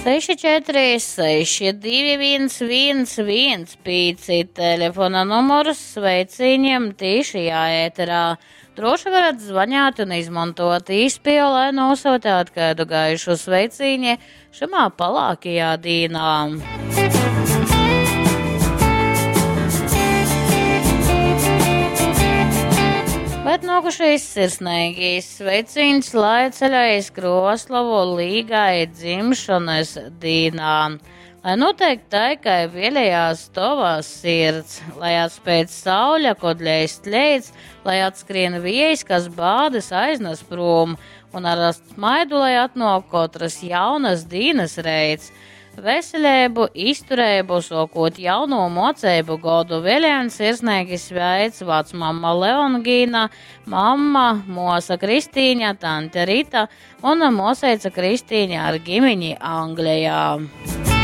64 621 115 telefona numurs sveicīņiem tīšajā ēterā. Droši varat zvanīt un izmantot īspēju, lai nosūtāt kādu gaišu sveicīņi šamā palākajā dīnā. Bet nokušais sirsnīgais sveiciens, lai ceļā iz Kroslovu līgai dzimšanas dīnā. Lai notiek tai, kā vēlējās tova sirds, lai atspēc saule, kod leist leits, lai atskrien viejs, kas bādas aiznes prom, un ar smaidu, lai atnāk katras jaunas dīnas reits. Veselību, izturību, sokot jauno mocību godu vēlējums sirsnīgi sveic vecmamma Leongīna, mamma, mosa Kristīņa, tante Rita un moseica Kristīņa ar ģimeni Anglijā.